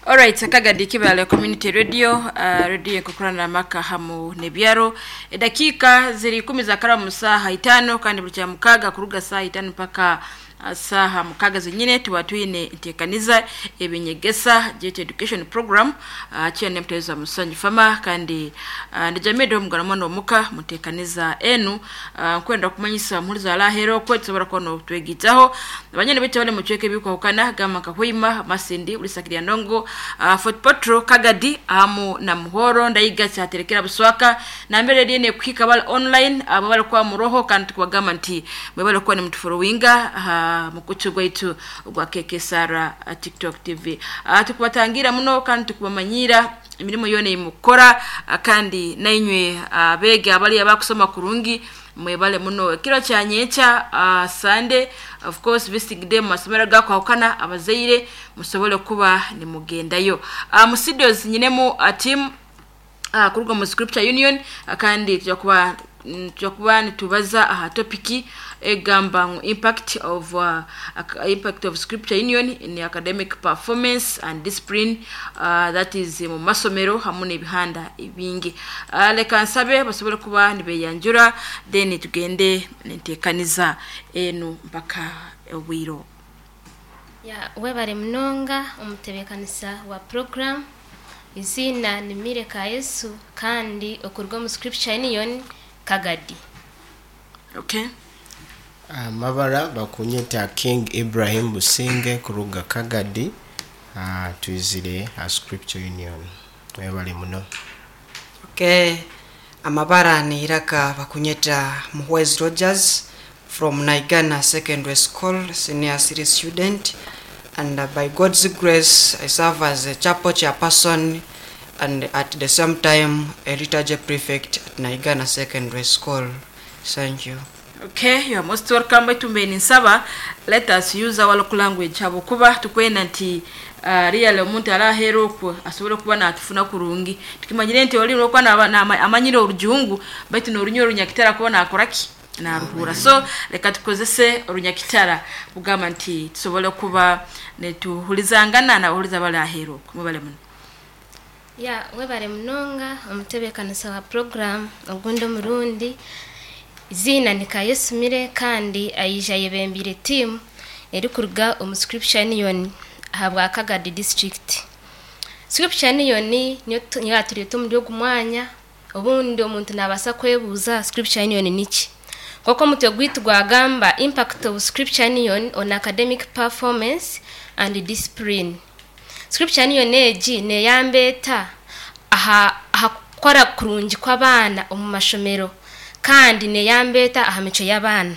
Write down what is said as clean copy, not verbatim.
Alright, Kagadi Kibale Community Radio, radio ekukurana amaka hamu nebyaro. Edakiika ziri 10 za karamu saha 5 kandi buli kya mukaga kuruga saha 5 mpaka saha mukaga zenyine tuba twine ntekaniza ebinyegesa jet education program, kyene muteza musanyu fama kandi ndijamede omugana omuka mutekaniza enu, nkwenda kumanyisa muliza lahero kwe tusobora kuba notwegitaho abanyene bitu bali mucweke bikwahukana gama kahwima Masindi ulisakiria ndongo, Fort Potro Kagadi amu na Muhoro Ndaiga cyaterekera Buswaka na mbere liene kuhika bali online abo bali kwa muroho kandi tukubagamba nti mwe bali kwa ni mtufollowinga mukutu gwaitu gwa KK Sara, TikTok TV. Tukubatangira muno kandi tukubamanyira imirimo yone imukora, kandi nainywe abege abali abakusoma kurungi mwebale muno. Kiro kya nyecha, Sunday of course visiting day mu masomero gakwahukana abazaire musobole kuba nimugendayo. Mu studios nyinemu team kuruga mu Scripture Union, kandi tujya kuba nitubaza aha topiki egamba ngu impact of Scripture Union in academic performance and discipline, that is mu masomero hamwe n'ebihanda ebingi. Leka nsabe basobole kuba nibeyanjura then tugende nentekaniza enu mpaka obwiro. Ya, webare munonga omutebekanisa wa program. Izina ni Mire ka Yesu kandi okurwa mu Scripture Union Kagadi. Okay. Amabara bakunyeta King Ibrahim Businge kuruga Kagadi, twizire a Scripture Union. Webale muno. Okay. Amabara ni Iraka bakunyeta Muhwezi Rogers from Naigana Secondary School, senior city student, and by God's grace I serve as a chapel chairperson and at the same time a liturgy prefect at Naigana Secondary School. Thank you. Okay, you are most welcome. Tumbeni nsaba let us use our local language habokuba tukwenda nti real omuntu arahera okwo asobole kuba natufuna kurungi. Tukimanyire nti oli lokwa na amanyire orujungu baitu n'orunyo orunyakitara kuba nakoraki naruhura. So leka tukozese orunyakitara kugamba nti tusobole kuba netuhulizangana na uhuliza bali ahero mubale muno. Ya, webare munonga omutebekanisa wa program ogundi omurundi. Izina ni Kayesu Mire kandi ayija yebembire team eri kuruga omu Scripture Union ahabwa Kagadi district. Scripture Union niyo yatureta omuri ogu mwanya. Obundi omuntu nabasa kwebuuza Scripture Union niki? Koko omutwe gwaitu gwagamba impact of Scripture Union on academic performance and discipline. Scripture Union egi neyamba eta aha kukora kurungi kw'abaana omu mashomero kandi neyamba eta aha micwe y'abaana.